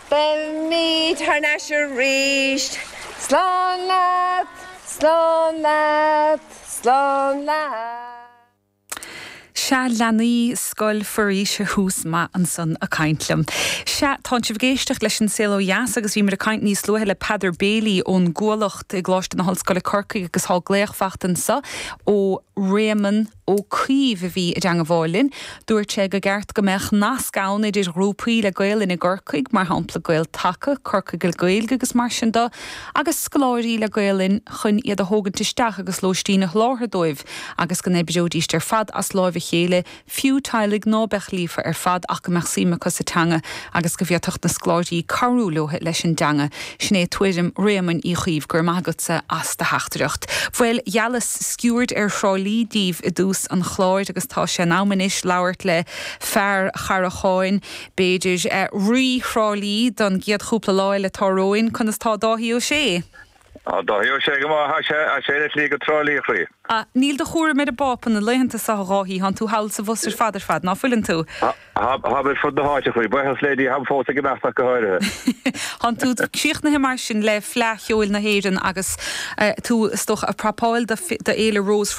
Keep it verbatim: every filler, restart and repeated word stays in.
Beimid thar n-ais arís. Slán leat, slán leat, slán leat. Sea leanaí Scoil Foraoise Thús Maith ansan ag caint liom. Sea tá sibh ag éisteacht leis an Saol Ó Dheas agus bhí muid ag caint níos luaithe le Peadar Bailey ón gCuallacht i gColáiste na hOllscoile Corcaigh agus tá glaoch faighte anseo ó Réamonn Ó Caoimh a bhí i dteagmháil linn. Dúirt sé gur cheart go mbeadh nasc ann idir ghrúpaí le Gaelainn i gCorcaigh, mar shampla Gael-Taca, Corcaigh le Gaeilge agus mar sin de, agus scoláirí le Gaelainn chun iad a thógaint isteach agus lóistín a sholáthar dóibh, agus go n-oibreoidís ar fad as láimh a chéile, fiú teaghlaigh ná beadh líofa ar fad ach go mbeadh suim acu sa teanga agus go bhféadfadh na scoláirí cabhrú leo leis an dteanga. Sin é tuairim Réamoinn Uí Chaoimh go raibh maith agatsa as do theachtaireacht. Bhuel gheallas sciuird ar Thrá Lí daoibh i dtús an chláir agus tá sé in am anois labhairt le fear Characháin, b'fhéidir eh, rí Thrá Lí don gcéad chúpla lá eile atá romhainn, conas tá Dáithí Ó Sé. Á Dáithí Ó Sé go maith sé le slí go Trá Lí chroí. Níl do chúram ar an bPápa na laethanta seo a Dháithí tánn tú thall sa bhus ar fad ar fad ná fuileann tú. Tá ar fud na háite chroí, buíochas le Dia fós ag imeacht go háirithe. Tánn tú críochnaithe mar sin le Fleadh Cheoil na hÉireann agus eh, tú is dócha ag prapáil do Fhéile Rós